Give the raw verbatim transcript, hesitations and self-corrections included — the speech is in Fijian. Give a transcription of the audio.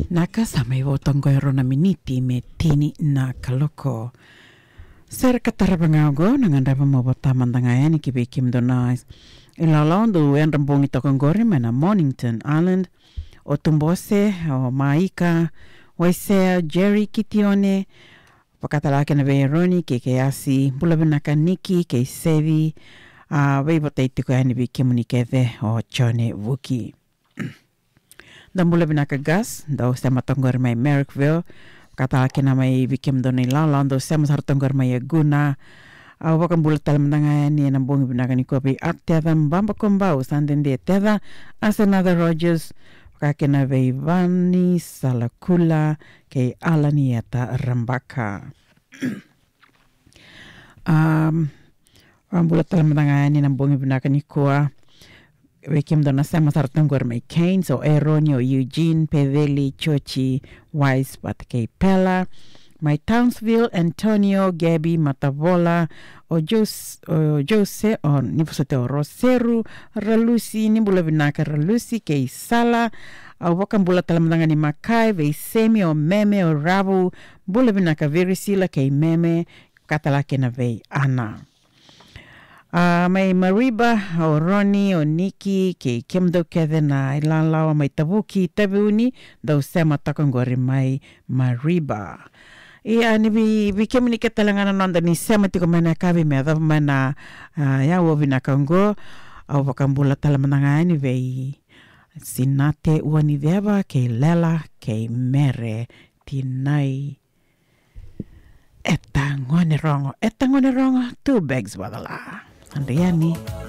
Na ka sa mai vo toka qo e rua na miniti me tini na kaloko. Sere ka tarava ga oqo na gadreva mo vota mada ga yani ki vei kemudou na ilawalawa dou yadra bogi toka qori mai na Mornington Island. O Tubose, o Maika, Waisea, Jerry, Kitione, vakatalega kina vei Eroni kei Keiasi, bula vinaka Niki kei Sevi, a, veivotai tiko yani vei kemuni kece o Jone Vuki. Da bula vinaka Gas, dou sema toka qori mai Marrickville, vakatalega kina mai vei kemudou na ilawalawa dou sema sara toka qori mai Aguna. Au vakabula tale mada ga yani ena bogi vinaka nikua vei Arteza Baba Kobau, sa dede Teza, Asenatha Rogers, vaka kina vei Vani Salakula, kei Alanieta Rabaka. Um, vakabula tale mada ga yani na bogi vinaka nikua vei kemudou na sema sara toka qori mai Cairns, o Eroni, o Eugene, Peveli, Chochi, Wise, vata kei Pela. Mai Townsville, Antonio, Gabby, Matavola, o Jose, o Jose, o ni vosoti o Roseru, Ralusi, ni bula vinaka Ralusi, kei Sala. Au vakabula tale mada ga ni Makai, vei Semi, o Meme, o Ravu, bula vinaka Verisila, kei Meme, vakatalega kina vei Ana. A, mai Mariba, o Roni, o Niki, kei kemudou kece na ilawalawa mai Tavuki, Taveuni, dou sema toka qori mai Mariba. Ia, ni vei, vei kemuni kece talega na noda ni sema tiko mai na yakavi me yacova mai na, a, aua vinaka oqo, au vakabula tale mada ga yani vei Sinate Uaniceva, kei Lela, kei Mere, tinai. E ta gone rogo, e ta gone rogo, two bags vacala. Andriani.